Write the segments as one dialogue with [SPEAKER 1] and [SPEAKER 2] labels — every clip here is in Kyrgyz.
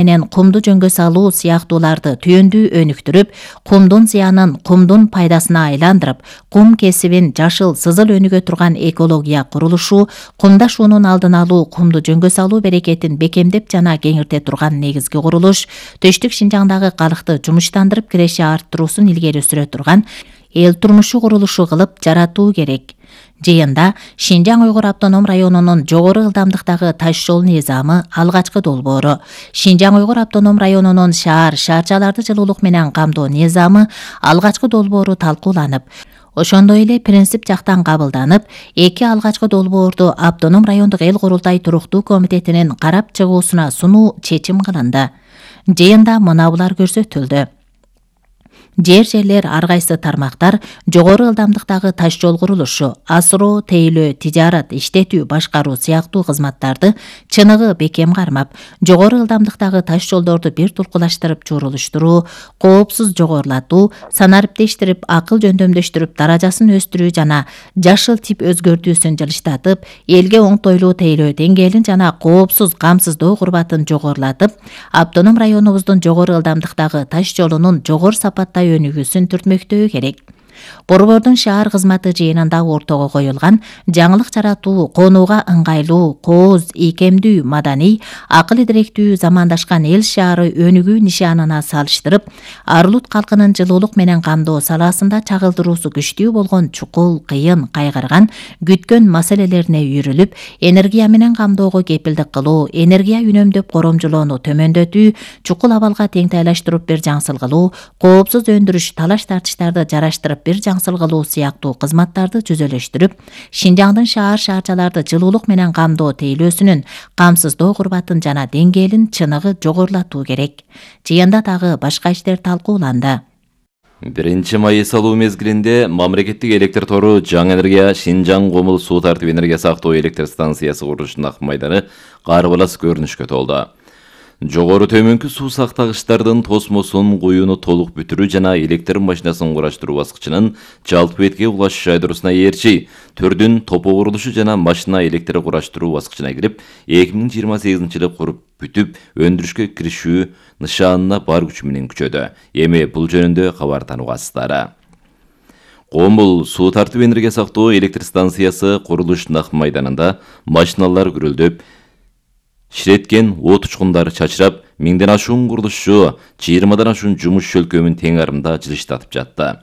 [SPEAKER 1] менен кумду жөнгө салуу сыяктууларды түйөндүү өнүктүрүп, кумдун зыянын кумдун пайдасына айландырып, кум кесибин жашыл сызыл өнүгө турган экология курулушу, кумда шуунун алдын алуу, кумду жөнгө салуу берекетин бекемдеп жана кеңирте турган негизги курулуш, Төштүк Шинжаңдагы калкты жумуштандырып киреши арттыруусун илгери сүрө турган эл турмушу курулушу кылып жаратуу керек. Жыйында Шинжаң Уйгур автоном районунун жогору ылдамдыктагы таш жол низамы алгачкы долбоору, Шинжаң Уйгур автоном районунун шаарчаларды жылуулук менен камдоо низамы алгачкы долбоору талкууланып, ошондой эле принцип жактан кабылданып, эки алгачкы долбоорду автоном райондук эл курултай туруктуу комитетинин карап чыгуусуна сунуу чечим кылынды. Жыйында мынабулар көрсөтүлдү. Жерлер ар кайсы тармактар жогору ылдамдыктагы таш жол курулушу, асыроо, тейлөө, тижарат, иштетүү, башкаруу сыяктуу кызматтарды чыныгы бекем кармап, жогору ылдамдыктагы таш жолдорду бир тулкулаштырып журулуштуруу, коопсуз жогорулатуу, санариптештирип, акыл жөндөмдөштүрүп, даражасын өстүрүү жана жашыл тип өзгөртүүсүн жылыштатып, элге оңтойлуу тейлөө деңгээлин жана коопсуз камсыздоо курбатын жогорулатып, автоном районубуздун жогору ылдамдыктагы таш жолунун жогору сапатта өнүгүүсүн түртмөктөө керек. Борбордун шаар кызматы жыйынында ортого коюлган жаңылык жаратуу, конууга ыңгайлуу, кооз, ийкемдүү, маданий, акыл идиректүү, замандашкан эл шаары өнүгүү нишанына салыштырып, Арулут калкынын жылуулук менен камдоо салаасында чагылдыруусу күчтүү болгон чукул, кыйын, кайгырган, күткөн маселелерине үйрүлүп, энергия менен камдоого кепилдик кылуу, энергия үнөмдөп коромжулоону төмөндөтүү, чукул абалга теңтайлаштырып бир жаңсыл кылуу, коопсуз өндүрүш, талаш тартыштарды жараштырып бир жаңсыл кылуу сыяктуу кызматтарды жүзөлөштүрүп, Шинжаңдын шаарчаларды жылуулук менен камдоо тейлөөсүнүн камсыздоо курбатын жана деңгээлин чыныгы жогорулатуу керек. Жыйында дагы башка иштер талкууланды.
[SPEAKER 2] 1-май салуу мезгилинде мамлекеттик электр тору Жаңы энергия Шинжаң Комул суу тартып энергия сактоо электр станциясы курулушунун ак майданы карбалас көрүнүшкө толду. Жогору төмөнкү суу сактагычтардын тосмосун куюуну толук бүтүрүү жана электр машинасын кураштыруу баскычынын жалпы бетке улашыш айдоосуна ээрчи төрдүн топо курулушу жана машина электр кураштыруу баскычына кирип, 2028-жылы куруп бүтүп өндүрүшкө киришүү нышанына бар күчү менен күчөдү. Эми бул жөнүндө кабар танугасыздар. Комул суу тартып энергия сактоо электр станциясы курулушунун ак майданында машиналар күрөлдөп, ширеткен от учкундары чачырап, 1000ден ашуун курулушчу 20дан ашуун жумуш шөлкөмүн тең арымда жылыштатып жатты.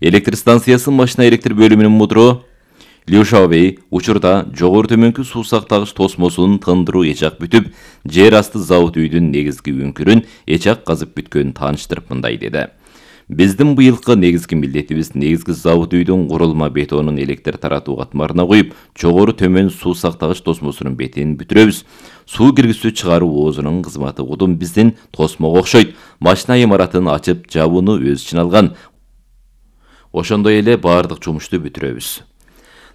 [SPEAKER 2] Электр станциясы машина электр бөлүмүнүн мудуру Лю Шаобей учурда жогору төмөнкү суу сактагыч тосмосун тындыруу эчак бүтүп, жер асты завод үйдүн негизги үңкүрүн эчак казып бүткөнүн тааныштырып мындай деди. Биздин быйылкы негизги милдетибиз негизги завод үйдүн курулма бетонун электр таратуу катмарына куюп, жогору төмөн суу сактагыч тосмосунун бетин бүтүрөбүз. Суу киргизүү чыгаруу оозунун кызматы кудум биздин тосмого окшойт. Машина имаратын ачып жабууну өз ичине алган. Ошондой эле баардык жумушту бүтүрөбүз.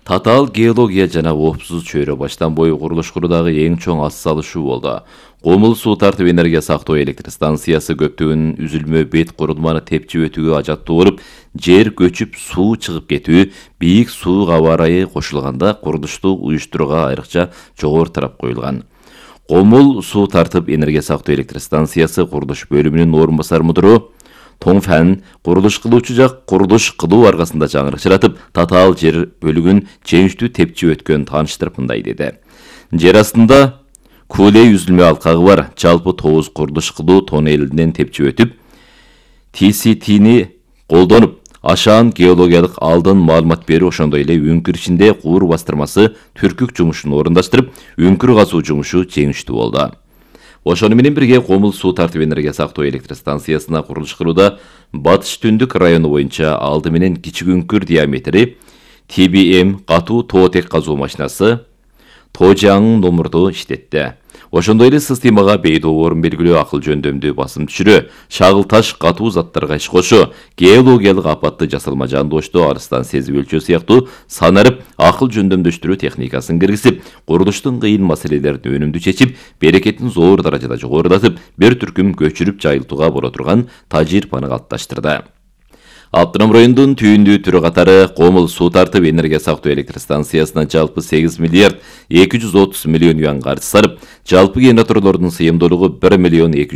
[SPEAKER 2] Татаал геология жана оопсуз чөйрө баштан бою курулуш куруудагы эң чоң ат салышуу болду. Комул суу тартып энергия сактоо электр станциясы көптөгөн үзүлмө бет курулманы тепчип өтүүгө ажаттуу болуп, жер көчүп суу чыгып кетүү, бийик суук аба ырайы кошулганда курулушту уюштурууга айрыкча жогору тарап коюлган. Комул суу тартып энергия сактоо электр станциясы курулуш бөлүмүнүн орун басар мудуру Тоңфан курулуш кылуучу жак курулуш кылуу аркасында жаңырык жаратып, татаал жер бөлүгүн жеңиштүү тепчип өткөн тааныштырып мындай деди. Жер астында Кулей үзүлмө алкагы бар, жалпы 9 курулуш кылуу тоннелинен тепчип өтүп, TCT-ни колдонуп, ашаан геологиялык алдын маалымат берүү, ошондой эле үңкүр ичинде куур бастырмасы түркүк жумушун орундаштырып, үңкүр казуу жумушу жеңиштүү болду. Ошону менен бирге Комул суу тартып энергия сактоо электр станциясына курулуш кылууда Батыш Түндүк району боюнча алды менен кичик үңкүр диаметри TBM катуу тоотек казуу машинасы Тожаң номурду иштетти. Ошондой эле системага бейдоо орун белгилөө, акыл жөндөмдүү басым түшүрүү, шагыл таш катуу заттарга иш кошуу, геологиялык апатты жасалма жандошту арыстан сезип өлчөө сыяктуу санарып, акыл жөндөмдөштүрүү техникасын киргизип, курулуштун кыйын маселелерин өнүмдүү чечип, берекетин зор даражада жогорулатып, бир түркүм көчүрүп жайылтууга боло турган тажрыйбаны калыпташтырды. Автоном райондун түйүндүү түрү катары Комул суу тартып энергия сактоо электр станциясына жалпы 8 миллиард 230 миллион юан каржы сарып, жалпы генераторлордун сыйымдуулугу 1 миллион 200